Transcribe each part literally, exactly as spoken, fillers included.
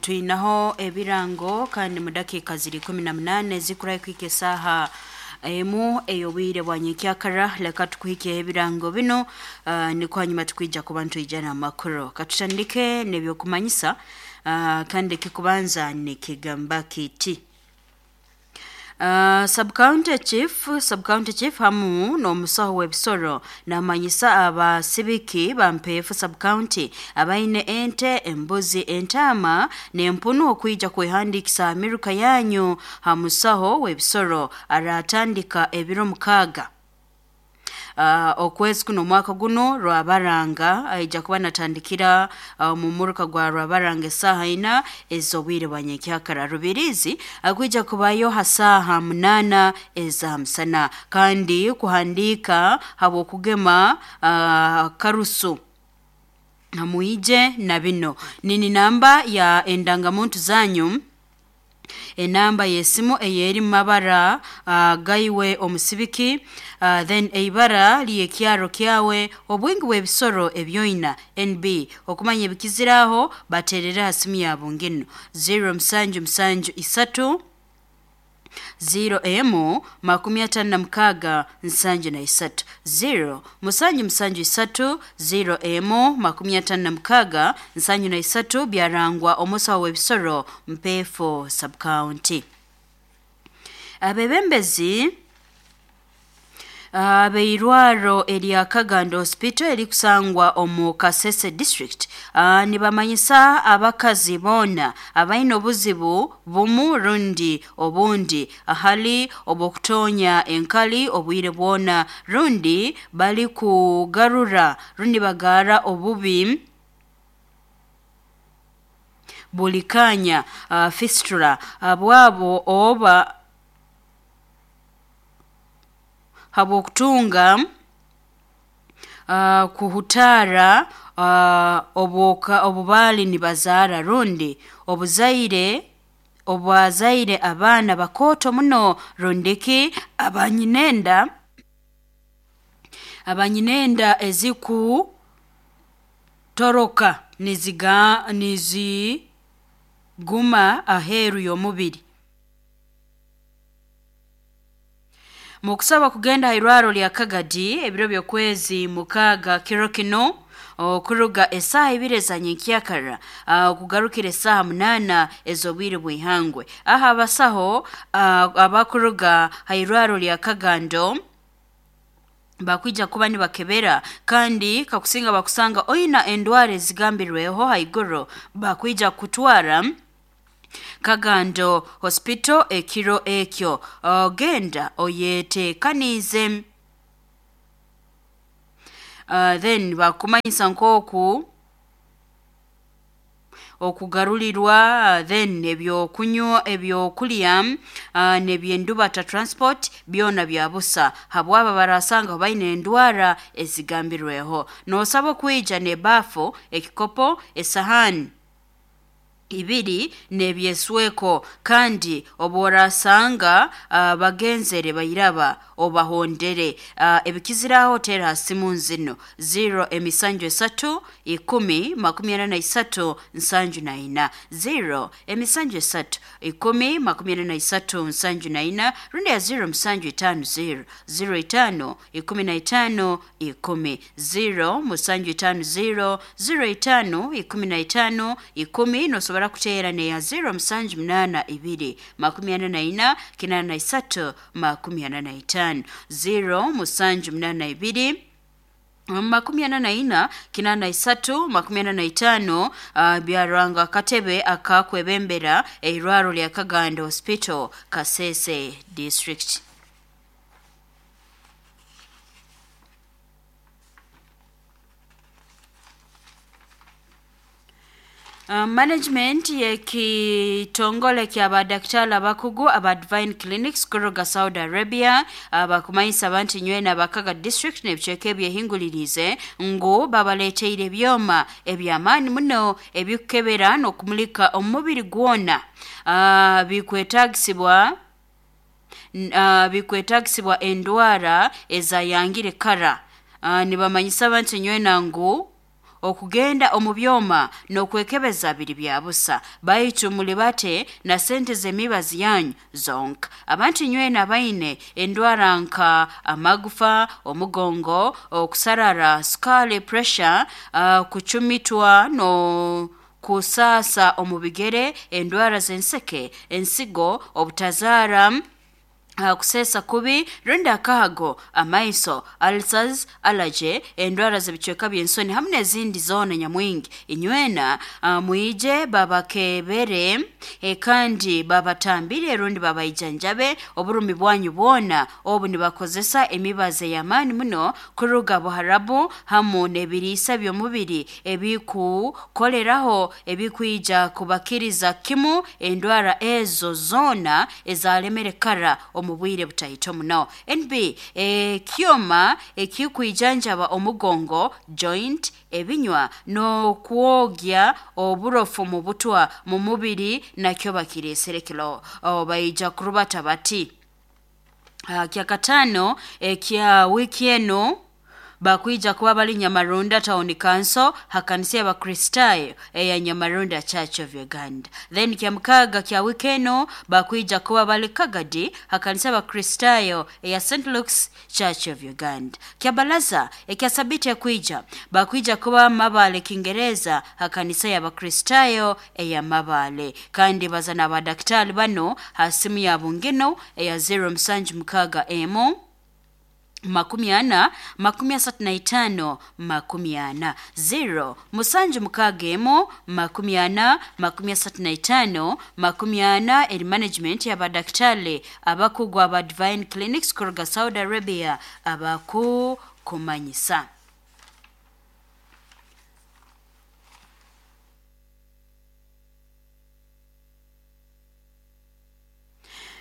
Twinaho ebirango kandi mu dakiika ziri ikumi na munaana ezikurayo kuhika esaaha emu ey'obwire bwa nyenkyakara. Leka tukuhikyeho ebirango binu, uh, nikwo hanyuma tukwija kuba ntwija n'amakuru. Katutandike n'ebyokumanyisa, uh, kandi ekikubanza nikigamba kiti: Uh, subcounty chief subcounty chief hamu n'omusaho w'ebisoro namanyisa abasibiki ba Mpeefu subcounty abaine ente, embuzi, entaama n'empunu okwija kwehandiikisa ha miruka yanyu ha musaho w'ebisoro aratandika ebiro mukaaga Uh, okwezi kuno omwaka guno Rwabaranga. Aija kuba natandikira uh, mu muruka gwa Rwabaranga esaaha ina ez'obwire bwa nyenkyakara. Rubirizi akwija kubayo ha saaha munaana eza musana, kandi kuhandiika habw'okugema uh, karusu mwije na bino nini: namba ya endangamuntu zanyu, enamba y'esimu eyeri mu mabara uh, gaiwe omusibiki, uh, then eibara ly'ekyaro kyawe, obwingi bw'ebisoro ebyoina. N B okumanya ebikiziraho baterere ha simu yabo nginu: zero musanju musanju isatu zero emu makumi atano na mukaaga nsanju na isatu, zero musanju musanju isatu zero emu makumi atano na mukaaga nsanju na isatu. Byarangwa omusaho w'ebisoro, Mpeefo subcounty. Abebembezi abeirwaro erya Kagando Hospital erikusangwa omu Kasese district, uh, nibamanyisa abakazi boona abaine obuzibu bumu rundi obundi, ahali obw'okutonya enkali obwire bwona, rundi bali kugarura rundi bagara obubi buli kanya, uh, fistula bwabo, oba habw'okutunga uh, kuhutaara uh, obwoka obubaali nibazaara, rundi obuzaire obwazaire abaana bakooto muno, rundiki abanyinenda abanyinenda ezikutoroka niziga niziguma aheeru y'omubiri. Mukusaba kugenda ha irwaro lya Kagadi ebiro by'okwezi mukaaga kiro kino okuruga esaaha ibiri eza nyenkyakara okugarukira esaaha munaana ez'obwire bw'ihangwe. Aha abasaho uh, abakuruga ha irwaro lya Kagando bakwija kuba nibakebera, kandi kakusinga bakusanga oina endwara ezigambirweho haiguru, bakwija kutwara Kagando Hospital ekiro ekyo. Ogenda oyetekaniize. uh, then bakumanyisa nk'oku okugarulirwa, then ebyokunywa, ebyokulya uh, n'ebyendubata, transport byona byabusa habwaba barasanga baine endwara ezigambirweho. Noosaba okwija n'ebaafu, ekikopo, esahani ibiri n'ebyesweko, kandi obworasanga uh, bagenzere bairaba obahondere. uh, ebikiziraho tera ha simu nzino: zero emisanju esatu ikumi makumi ana na isatu nsanju na ina, zero emisanju esatu ikumi makumi ana na isatu nsanju na ina, rundi ya zero musanju itano zero zero itano ikumi na itano ikumi, zero musanju itano zero zero itano ikumi na itano ikumi. Nosobora kuteera neya zero musanju munaana ibiri makumi ana na ina kinana na isatu makumi ana na itano, zero musanju munaana ibiri makumi ana na ina kinana na isatu makumi ana na itano. uh, byaranga akatebe akakwebembera eirwaro lya Kagando Hospital, Kasese district. Uh, management y'ekitongole kya badaktari abakugu aba Divine Clinics kuruga Saudi Arabia uh, bakumanyisa abantu nywena abakaga district n'ebicweka ebyehingulirize ngu babaleteire ebyoma eby'amaani muno ebikukebera n'okumulika omubiri gwona, uh, bikwetagisibwa uh, bikwetagisibwa endwara ezayangire kara. uh, nibamanyisa abantu nywena ngu Okugenda omu byoma n'okwekebeza biri bya busa, baitu mulibate na sente z'emibazi yanyu zonka. Abantu inywena abaine endwara nka amagufa, omugongo, okusarara, sukali, pressure, uh, kucumitwa no kusaasa omu bigere, endwara z'enseke, ensigo, obutazaara, kuseesa kubi rundi akahago, amaiso, ulcers, allergy, endwara z'ebicweka by'ensoni hamu n'ezindi zoona nyamwingi. Inywena uh, mwije babakebere e, kandi babatambire rundi babaijanjabe oburumi bwanyu bwona obu nibakozesa emibazi ey'amaani muno kuruga Buharabu hamu n'ebiriisa by'omubiri ebikukoleraho ebikwija kubakiriza kimu endwara ezo zoona ezalemere kara omu bwire butaito muno. N B ekyoma ekikwijanjaba omugongo, joint, ebinywa n'okwogya oburofu mu butwa mu mubiri nakyo bakireesere kilo baija kurubata bati. Kyakataano ekya wiki eno bakwija kuba bali Nyamarunda Town Council hakanisa y'Abakristaayo eya Nyamarunda Church of Uganda. Then kya mukaga kya wiki eno bakwija kuba bali Kagadi hakanisa y'Abakristaayo eya Saint Luke's Church of Uganda. Kya balaza ekya sabiti ekwija bakwija kuba Mabale Kingereza hakanisa y'Abakristaayo eya Mabale. Kandi bazana abadaktari bano hasimu ya bungino eya zero musanju mukaga emu makumi ana makumi asatu na itano makumi ana zero musanju mukaga emu makumi ana makumi asatu na itano makumi ana. Eri management y'abadaktari abakugu aba Divine Clinics kuruga Saudi Arabia abaku kumanyisa.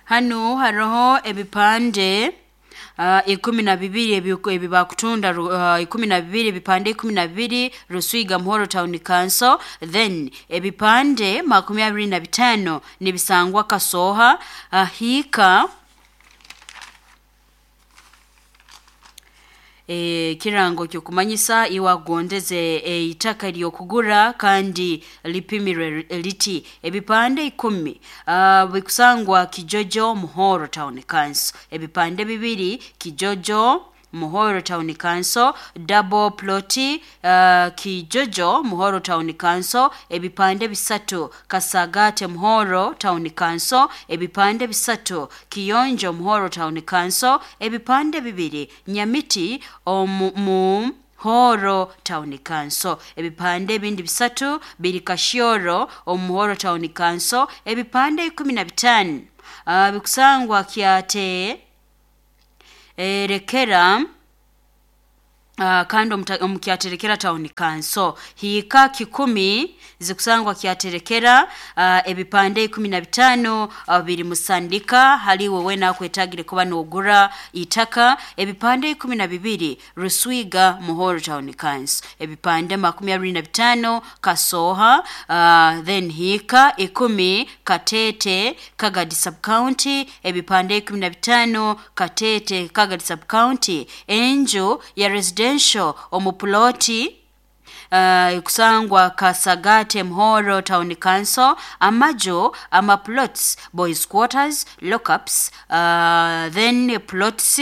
Hanu haroho ebipande Uh, ikumi na bibiri ebibakutunda uh, ikumi na bibiri ebipande ikumi na bibiri Ruswiga Muhoro Town Council. Then ebipande makumi abiri na bitano nibisangwa Kasoha uh, hika E, kirango kyokumanyisa iwagondeze eitaka e, lyokugura kandi lipimirwe liti ebipande ikumi uh, bikusangwa Kijojo Muhoro Town Council, ebipande bibiri Kijojo Muhoro Town Council, double ploti uh, Kijojo Muhoro Town Council, ebipande bisatu Kasagate Muhoro Town Council, ebipande bisatu Kiyonjo Muhoro Town Council, ebipande bibiri Nyamiti omu mu Horo Town Council, ebipande bindi bisatu biri Kashioro omuhoro Town Council, ebipande ikumi na bitano uh, bikusangwa Kyate Rekera uh, kandi omukyaterekera Town Council, hika kikumi zikusangwa kyaterekera uh, ebipande ikumi na bitano uh, biri Musandika hali wewe nakwetagire kuba nogura itaka, ebipande ikumi na bibiri Ruswiga Muhoro Town Council, ebipande makumi abiri na bitano Kasoha uh, then hika ikumi Katete Kagadi Sub County, ebipande ikumi na bitano Katete Kagadi Sub County, enju ya residential omupuloti Uh, ikusangwa Kasagate Muhoro Town Council, amajo ama plots boys quarters lockups uh, then plots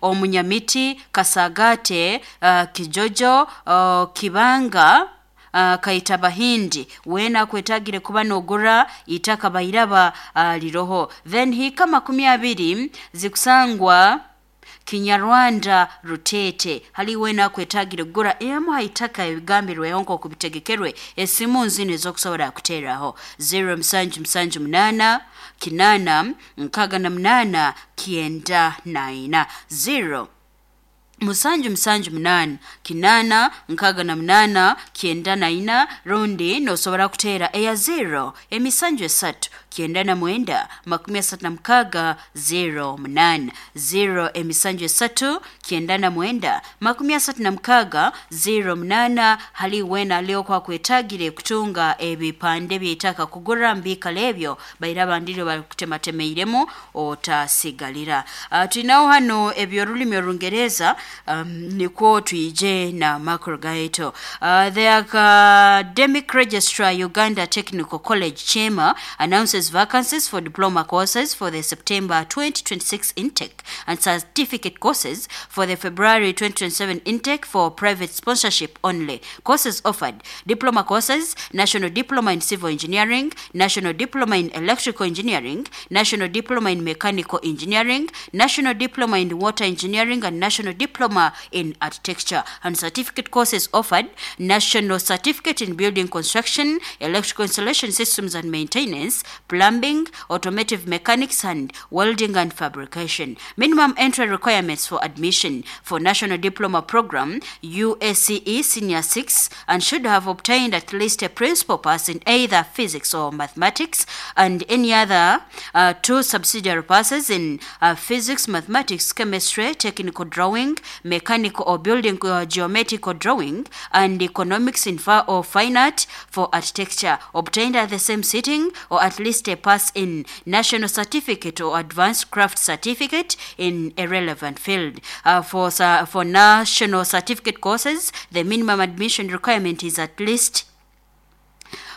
omunyamiti Kasagate uh, Kijojo uh, Kibanga Uh, Kaitabahindi wena kwetagire kuba nogura itaka bairaba uh, liroho. Then hika makumi abiri zikusangwa Kinyarwanda Rutete hali wena kwetagire kugura emu haitaka ebigambirwe yonko kubitegekerwe esimu nzino ezokusobola kuteraho zero musanju musanju munana kinana nkaga na munana kienda naina zero musanju musanju munana kinana nkaga na munana kienda naina rundi nosobola kutera eya zero emisanju esatu kienda na mwenda makumi asatu na mukaga zero munana zero emisanju esatu kienda na mwenda makumi asatu na mukaga zero munana. Hali wena leo kwa kwetagire kutunga ebipande byetaka kugura mbikala ebyo baira bandiro bali kutematemeiremu otasigalira. Uh, tulinao hano ebyorulimi Olungereza. um, nikwo twije na makuru gaitu. Uh, the Academic Registrar Uganda Technical College Chamber announces vacancies for diploma courses for the September twenty twenty-six intake and certificate courses for the February twenty twenty-seven intake for private sponsorship only. Courses offered: diploma courses, National Diploma in Civil Engineering, National Diploma in Electrical Engineering, National Diploma in Mechanical Engineering, National Diploma in Water Engineering, and National Diploma in Architecture. And certificate courses offered: National Certificate in Building Construction, Electrical Installation Systems and Maintenance, Plumbing, Automotive Mechanics, and Welding and Fabrication. Minimum entry requirements for admission for National Diploma Program, U A C E Senior six, and should have obtained at least a principal pass in either physics or mathematics and any other uh, two subsidiary passes in uh, physics, mathematics, chemistry, technical drawing, mechanical or building uh, geometrical drawing, and economics in fa or fine art for architecture, obtained at the same sitting, or at least a pass in national certificate or advanced craft certificate in a relevant field. Uh, for, uh, for national certificate courses, the minimum admission requirement is at least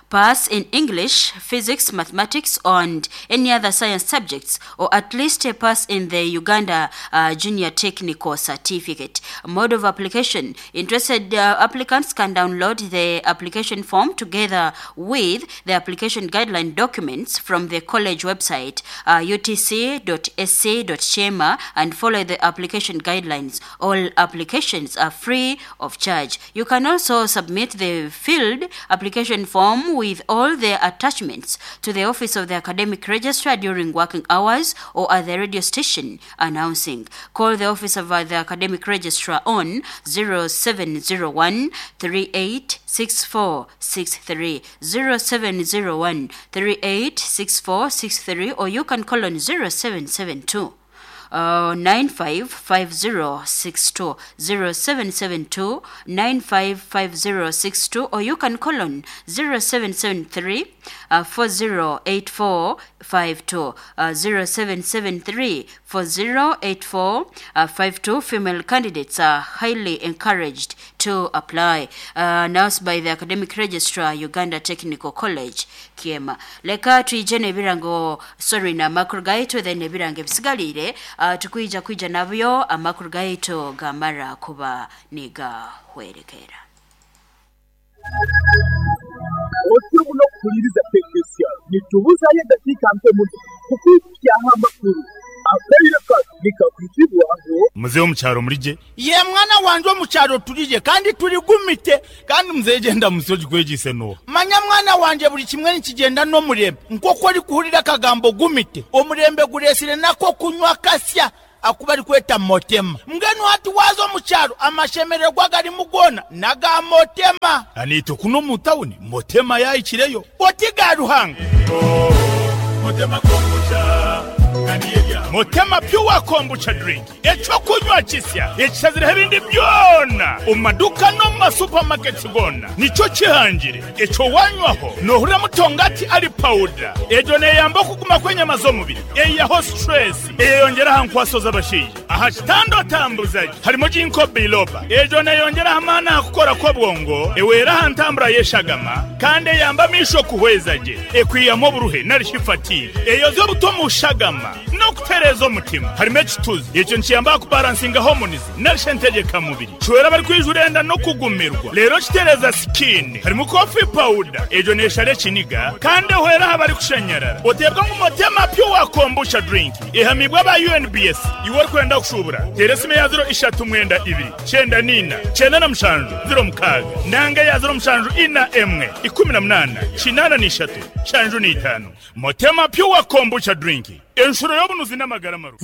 pass in English, physics, mathematics, and any other science subjects, or at least a pass in the Uganda uh, Junior Technical Certificate. Mode of application. Interested uh, applicants can download the application form together with the application guideline documents from the college website, uh, U T C dot S C dot chema, and follow the application guidelines. All applications are free of charge. You can also submit the filled application form with all the attachments to the office of the academic registrar during working hours or at the radio station announcing. Call the office of the academic registrar on zero seven zero one, three eight six four six three, zero seven zero one, three eight six four six three, or you can call on zero seven seven two Uh, nine five five zero six two, zero seven seven two nine five five zero six two, or you can call on zero seven seven three uh, four zero eight four five two, uh, zero seven seven three four zero eight four five two. Female candidates are highly encouraged to apply. Uh, announced by the Academic Registrar, Uganda Technical College, Kiema. Leka tuije nebirango, sorry, na makuru gaitu, then nebirango ebisigalire, uh, tukuija kuija nabyo amakuru gaitu gamara kuba niga hwerekera. Otyo muno kukuliriza pekesya nitubuza ye dakika mpe muno kukuikya amakuru akaire nikakutibwaho. Mzee omukyaro mulije ye mwana wanje omukyaro tulije kandi tuligumite kandi mzee genda musoji kwegise no manya mwana wanje buli kimwe nikigenda n'omurembe nk'oku ori kuhurira akagambo gumite omurembe guresire nako kunywa kasya akuba rikweta motema mbwenu hati waza omukyaro amashemererwa gari mugona naga motema anito kuno mu town motema yayikireyo oti ga Ruhanga oh, motema kombucha Motema pure kombucha drink echo kunywa kisya ekisazira ebindi byona omaduka no ma supermarket gona nico kihangire echo wanywaho nohura mutongati ali powder ejo neyamba kuguma kwenyama z'omubiri eyaho stress eyongera hankwaso z'abashije aha kitando tambuzaji harimo jinko biloba ejo neyongera hamana kukora ko bwongo ewera hantambura yeshagama kandi yamba misho kuhwezaje ekwiyamo buruhe narishifati eyo zo butomushagama no kutereza omutima harimo ekituzi ekyo nkiyamba kubalansinga hormones narishentegeka mubiri chwera bari kwijurenda no kugumirwa lero kitereza skin harimo coffee powder ejo neshare kiniga kandi hwera habari kushanyarara otebwa ngo motema pure kombucha drink ihamibwa ba U N B S iwe kwenda kushubura teresime ya zero ishatu mwenda ibiri cyenda nina cyenda na mushanju zero mukaga nanga ya zero mushanju ina emwe ikumi na munana kinana n'ishatu shanju n'itanu motema pure kombucha drink enshuro y'obunuzi n'amagara maru.